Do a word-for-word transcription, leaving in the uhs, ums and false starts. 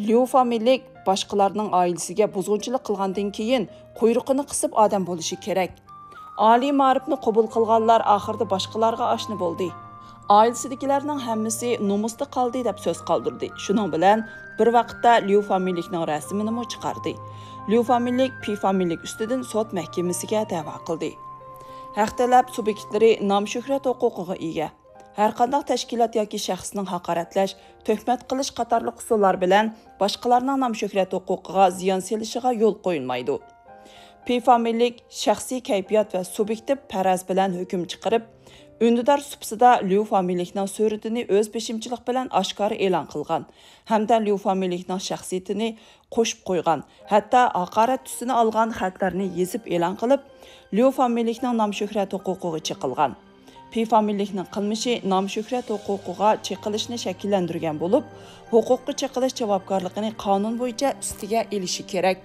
ليۇ فامىلىلىك باشقىلارنىڭ ئائىلىسىگە بۇزغۇنچىلىق قىلغاندىن كېيىن، قۇيرۇقىنى قىسىپ ئادەم بولۇشى كېرەك. ئالىي مائارىپنى قوبۇل قىلغانلار ئاخىرىدا باشقىلارغا ئاشنا بولدى. ئائىلىسىدىكىلەرنىڭ ھەممىسى نومۇستا قالدى دەپ سۆز قالدۇردى. شۇنىڭ بىلەن بىر ۋاقىتتا ليۇ فامىلىلىكنىڭ رەسىمىنىمۇ چىقاردى. ليۇ فامىلىلىك پى فامىلىلىك ئۈستىدىن سوت مەھكىمىسىگە دەۋا قىلدى. ھەق تەلەپ سۇبيېكتلىرى نام-شۆھرەت ھوقۇقىغا ئىگە. ھەرقانداق تەشكىلات ياكى شەخسنىڭ ھاقارەتلەش، تۆھمەت قىلىش قاتارلىق ئۇسۇللار بىلەن باشقىلارنىڭ نام-شۆھرەت ھوقۇقىغا زىيان سېلىشىغا يول قويۇلمايدۇ. پى فامىلىلىك شەخسىي كەيپىيات ۋە سۇبيېكتىپ پەرەز بىلەن ھۆكۈم چىقىرىپ، ئۈندىدار سۇپىسىدا ليۇ فامىلىلىكنىڭ سۈرىتىنى ئۆز بېشىمچىلىق بىلەن ئاشكارا ئېلان قىلغان ھەمدە ليۇ فامىلىلىكنىڭ شەخسىيىتىنى قوشۇپ قويغان، ھەتتا ھاقارەت تۈسىنى ئالغان خەتلەرنى يېزىپ ئېلان قىلىپ، ليۇ فامىلىلىكنىڭ نام-شۆھرەت ھوقۇقىغا چېقىلغان. پى فامىلىلىكنىڭ قىلمىشى نام-شۆھرەت ھوقۇقىغا چېقىلىشنى شەكىللەندۈرگەن بولۇپ، ھوقۇققا چېقىلىش جاۋابكارلىقىنى قانۇن بويىچە ئۈستىگە ئېلىشى كېرەك.